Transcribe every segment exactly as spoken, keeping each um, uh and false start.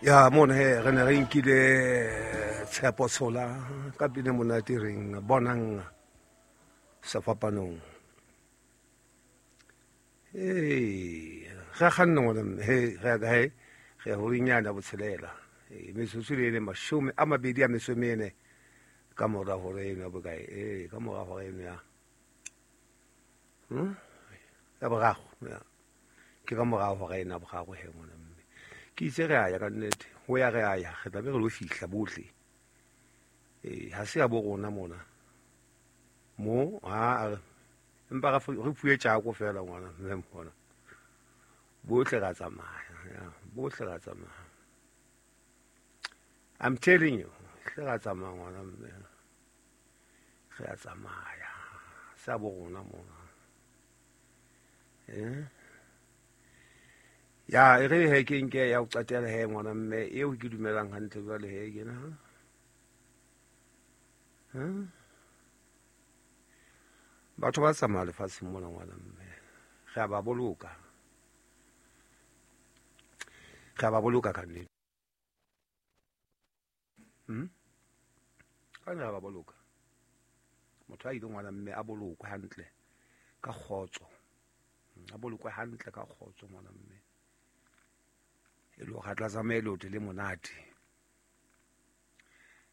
Ya mona he re ne re nkile Tshepo Tshola ka pina monate reng bonang sefapanong. Ee, re kganna ngwana mme, he re ya kae? Re ya horinyana botshelela. Ee, metsotso le ene mashome a mabedi a metso e mene ka mora hora eno ya bokae? Ee, ka mora hora eno ya hmm? Ya boraro, ya. Ke ka mora hora eno ya boraro he ngwana mme. Ke itse re a ya ka nnete, ho ya re a ya, re tla be re lo fihla bohle. Ee, ha se ya bo rona mona. Mo, ha a empa re re fuwe tjako feela ngwana mme mona. Bohle ra tsamaya, ya, bohle ra tsamaya. I'm telling you, hle ra tsamaya ngwana mme. Re a tsamaya. Se bo rona mona. Eh? Ya, e re he ke nke ya ho qetela he ngwana mme eo ke dumelang hantle jwale he ke na. Ha? Batho ba tsamaya lefatsheng mona ngwana mme. Re a ba boloka. Re a ba boloka ka nnete. Hmm? Ka nna ba boloka. Motho a ile ngwana mme a bolokwe hantle ka kgotso. A bolokwe hantle ka kgotso ngwana mme. E le hore a tla tsamaya leoto le monate.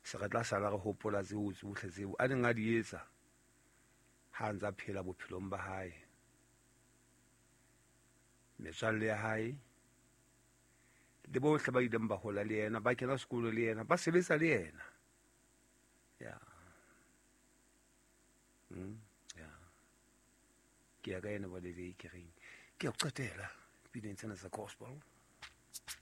Se re tla sala re hopola tseo tsohle tseo a neng a di etsa ha a ntsa phela bophelong ba hae. Metswalle ya hae le bohle ba ileng ba hola le yena, ba kena sekolo le yena, ba sebetsa le yena. Ya. Mm, ya. Ke ya ka ena ba le ke reng. Ke ya ho qetela pineng tsena tsa gospel.